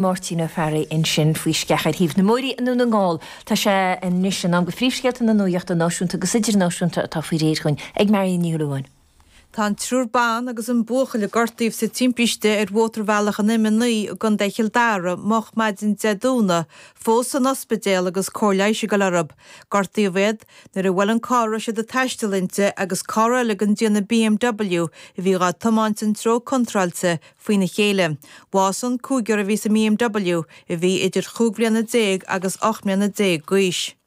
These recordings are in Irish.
Máirtín Ó Fearraigh ansin faoi sceach ar thaobh na Muirí i nDún na nGall. Tá sé anois in am do phríomhscéalta na nuachta náisiúnta agus idirnáisiúnta atá faoi réir dhúinn ag Marion Ní Shúilleabháin. Tá an triúr ban agus an buachaill a gortaíodh sa timpiste ar mhótarbhealach an M9 i gContae Chill Dara moch maidin Dé Domhnaigh fós san ospidéal agus cóir leighis ag dul orthu. Gortaíodh iad nuair a bhuail an carr a raibh siad ag taisteal inti agus carr eile den déanamh BMW a bhí dhá tiomáint an treo contráilte faoina chéile. Bhásaigh an cúigear a bhí sa mBMW, a bhí idir chúig bhliana déag agus 18 mbliana d'aois.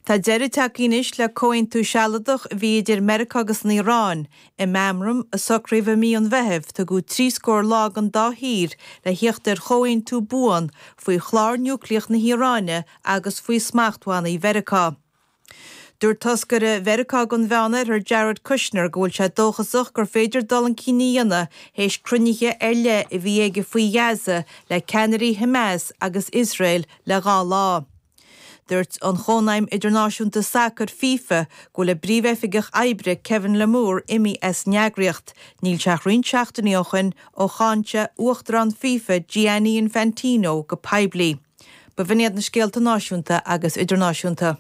Tá deireadh tagtha anois le comhaontú sealadach a bhí idir Meiriceá agus an Iaráin. I meamram a socraíodh i mí an Mheithimh, tugadh trí scór lá don dá thír le thíocht ar chomhaontú buan faoi chlár núicléach na hIaráine agus faoi smachtbhannaí Mheiriceá. Dúirt toscaire Mheiriceá don Mheánoirthear Jared Kushner go bhfuil sé dóchasach gur féidir dul chun cinn a dhéanamh théis cruinnithe ar leith a bhí aige faoi Ghaza le ceannairí Hamas agus Iosrael le dhá lá. Dúirt an Chónaidhm Idirnáisiúnta Sacair, FIFA, go bhfuil a bpríomhoifigeach oibre Kevin Lamour imithe as an eagraíocht. Níl sé ach roinnt seachtainí ó shoin ó cháin sé Uachtarán FIFA Gianni Infantino go poiblí. B'in iad na scéalta náisiúnta agus idirnáisiúnta.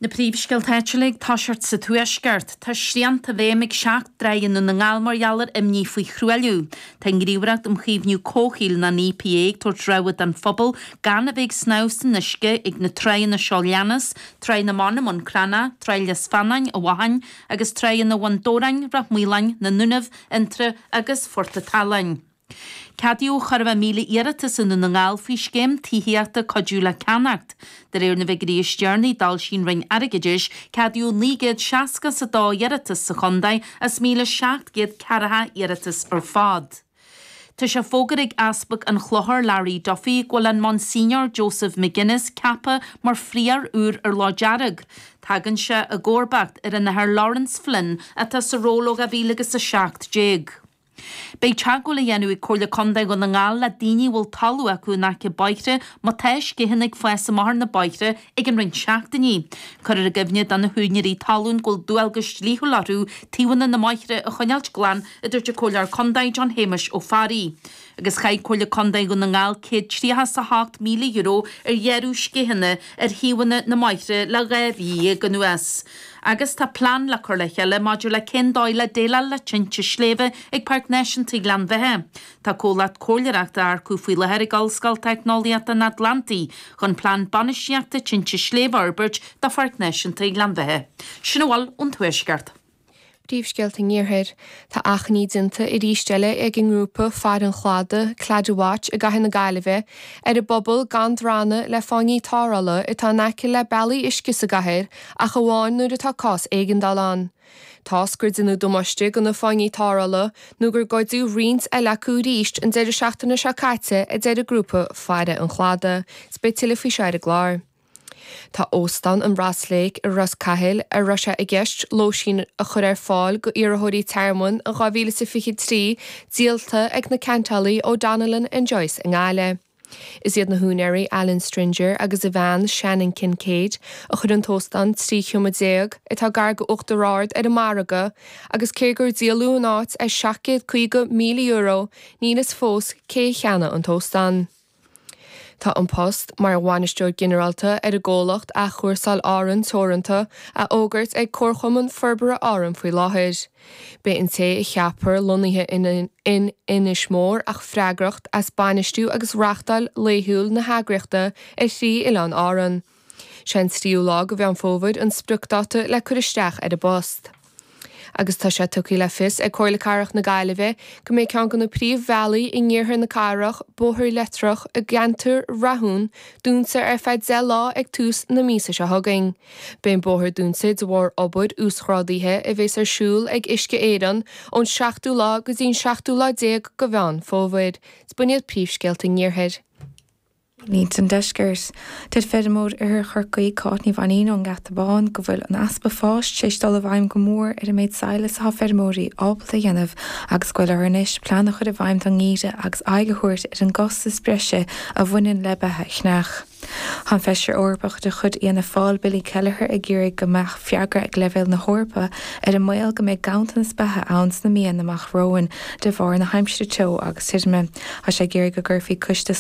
Na príomhscéalta áitiúla ag toiseacht sa Tuaisceart. Tá srianta i bhfeidhm ag 7 dtrá i nDún na nGall mar gheall ar imní faoi thruailliú. Tá an Ghníomhaireacht um Chaomhnú Comhshaoil nó an EPA ag tabhairt rabhadh don phobal gan a bheith ag snámh san uisce ag na tráigheanna seo leanas, Tráigh na mBan i mBun Cranncha, Tráigh Lios Feannáin i bhFathain agus Tráigheanna Bhun Dobhráin, Ráth Maoláin, na nDúnaibh, Fhionntrá agus Phort a' tSaláin. Ceadaíodh chóir a bheith 1,000 iarratas i nDún na nGall faoi scéim tithíochta Cuidiú le Ceannacht. De réir na bhfigiúirí is deireanaí a d'fhoilsigh an Roinn Airgeadais, ceadaíodh 960 is a dó iarratas sa chontae as 1,700 ceathracha iarratas ar fad. Tá sé fógartha ag Easpag an Chlochair Larry Duffy go bhfuil an Monsignor Joseph McGuinness ceaptha mar phrióir úr ar Loch Dearg. Tagann sé i gcomharbacht ar an Athair Laurence Flynn atá sa ról ó 2017. Beidh teagmháil á dhéanamh ag Comhairle Contae Dhún na nGall le daoine a bhfuil talamh acu in aice bóithre má tá sceitheanna ag fás amach ar na bóithre ag an roinnt seachtainí. Cuirfear i gcuimhne do na húinéirí talún go bhfuil dualgas dlíthiúil orthu taobhanna na mbóithre a choinneáilt glan, a dúirt an Comhairleoir Contae John Shéamuis Ó Fearraigh. Agus chaith Comhairle Contae Dhún na nGall €138,000 ar ghearradh sceitheanna ar thaobhanna na mbóithre le 12 mhí anuas. Agus tá plean le cur le chéile maidir le cén dóigh le déileáil le tinte sléibhe ag Páirc Náisiúnta Ghleann Bheatha. Tá comhlacht comhairleoireachta á earcú faoi láthair ag Ollscoil Teicneolaíochta an Atlantaigh chun plean bainistíochta tinte sléibhe a fhorbairt do Pháirc Náisiúnta Ghleann Bheatha. Sin a bhfuil ón Tuaisceart. Príomhscéalta an Iarthair. Tá achainí déanta arís eile ag an ngrúpa Faire an Chladaigh, Claddagh Watch i gcathair na Gaillimhe, ar an bpobal gan drannadh le fáinní tarrthála atá in aice le bealaí uisce sa gcathair ach amháin nuair atá cás éigeandála ann. Toisc gur deineadh damáiste do na fáinní tarrthála nó gur goideadh roinnt eile acu arís an deireadh seachtaine seo caite a deir an grúpa Faire an Chladaigh. 'S beidh tuilleadh faoi seo ar an gclár. Tá Óstán an Ross Lake i Ros Cathail, a raibh sé i gceist lóistín a chur ar fáil go iarrthóirí tearmainn in 2023, díolta ag na ceantálaí ó Donnellan and Joyce i nGaillimh. Is iad na húinéirí Alan Stringer agus a bhean Shannon Kincaid a chuir an t-óstán 13 sheomra, atá gar go Uachtar Ard, ar an margadh agus cé gur díoladh an áit ar €750,000, níl fhios fós cé a cheannaigh an t-óstán. Tá an post mar Bhainisteoir Ginearálta ar an gcomhlacht Athchúrsáil Árann Teoranta á fhógairt ag Comharchumann Forbartha Árann faoi láthair. Beidh an té a cheapfar lonnaithe in Inis Mór ach freagrach as bainistiú agus reachtáil laethúil na heagraíochta ar thrí oileán Árann. Sé an tríú lá de Mheán Fómhair an spriocdáta le cur isteach ar an bpost. Agus tá sé tugtha le fios ag Comhairle Cathrach na Gaillimhe go mbeidh ceann de na príomhbhealaí in iarthar na cathrach, Bóthar Leitreach i gceantar Rathún, dúnta ar feadh 10 lá ag tús na míosa seo chugainn. Beidh an bóthar dúnta de bharr obair uasghrádaithe a bheas ar siúl ag Uisce Éireann ón seachtú lá go dtí an seachtú lá déag de Mheán Fómhair. 'S b'in iad príomhscéalta an iarthair. Insan deisceart. Deir feirmeoir Oirthear Chorcaí, Cáit Ní Mhainín ón nGeata Bán, go bhfuil an easpa fáis tar éis dul i bhfeidhm go mór ar an méid sadhlais atá feirmeoirí ábalta a dhéanamh agus go bhfuil orthu anois plean a chur i bhfeidhm don ngeimhreadh agus aghaidh a thabhairt ar an gcostas breise a bhaineann le beatha chneach. Tá an Feisire Eorpach de chuid Fhianna Fáil, Billy Kelleher ag iarraidh go mbeadh freagra ag leibhéal na hEorpa ar an mbaol go mbeidh ganntanas beatha ann sna míonna amach romhainn de bharr na haimsire teo agus tirime. Tá sé ag iarraidh go gcuirfí coiste.